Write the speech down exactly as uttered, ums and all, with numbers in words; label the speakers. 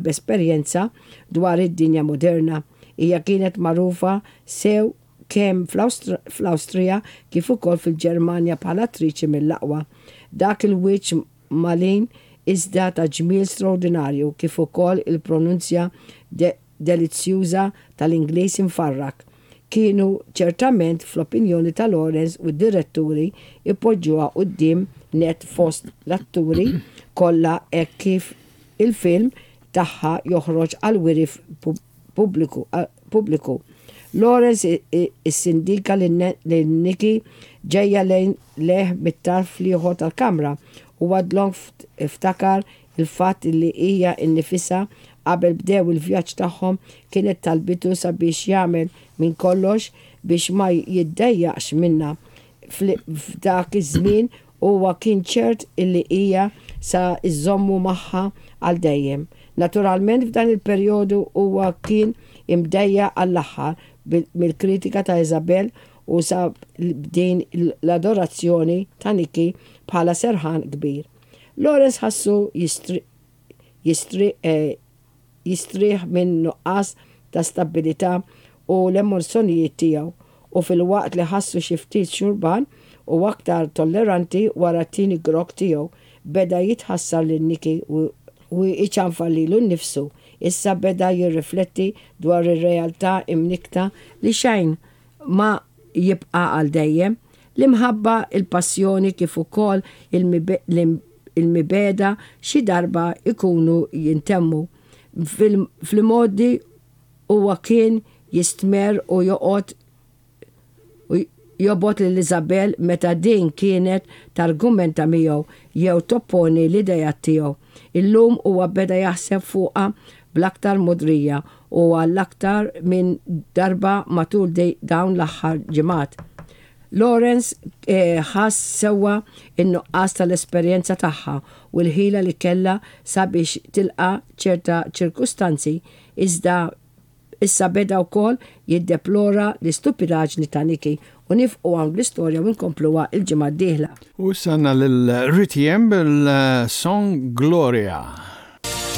Speaker 1: B'esperjenza dwar id-dinja moderna. Hija kienet magħrufa sew kemm fl-Awstrija kif ukoll fil-Ġermanja bħala attriċi mill-aqwa. Dak il-wiċċ malin iżda ta' ġmiel straordinarju, kif ukoll il-pronunzja delizzjuża tal-Ingliż imfarrak, kienu ċertament, fl-opinjoni ta' Lawrence u d-diretturi, ipoġġuha quddiem nett fost l-atturi kollha hekk kif il-film tagħha joħroġ għall-wiri pubbliku. Lawrence issindika lil Nikki ġejja lejh mit-tarf l-ieħor tal-kamra u għadlok ftakar il-fatt li hija nnifisha, qabel bdew il-vjaġġ tagħhom, kienet talbitu sabiex jagħmel minn kollox biex ma jiddejjaqx minnha. F'dak iż-żmien huwa kien ċert illi hija sa żżommu magħha għal dejjem. Naturalment, f'dan il-perjodu huwa kien imdejjaq għall-aħħar mill-kritika ta' Isabel u sab din l-adorazzjoni ta' Nikki bħala serħan kbir. Lawrence ħassu jistrieħ minn nuqqas ta' stabilità u l-emozzjonijiet tiegħu, u filwaqt li ħassu xi ftit xurban u aktar tolleranti wara t-tieni grokk tiegħu, beda jitħassar lil Nikki u iċanfar lilu nnifsu. Issa beda jirrifletti dwar ir-realtà imnikkta li xejn ma jibqa' għal dejjem. L-imħabba, il-passjoni kif ukoll il-mibegħda xi darba jkunu jintemmu. Fl-imgħoddi huwa kien jistmerr u joqgħod jobgħod lil Isabel meta din kienet targumenta miegħu jew topponi l-idejat tiegħu. Illum huwa beda jaħseb fuqha bl-aktar mogħdrija u għall-aktar minn darba matul dawn l-aħħar ġimgħat. Lawrence ħass sewwa n-nuqqas tal-esperjenza tagħha u l-ħila li kellha sabiex tilqa' ċerta ċirkustanzi, iżda issa beda wkoll jiddeplora l-istupidaġni ta' Nikki. U nieqfu hawn l-istorja u nkompluha il-ġimgħa d-dieħla.
Speaker 2: U issa għandna lil Ritiem bil-song Gloria.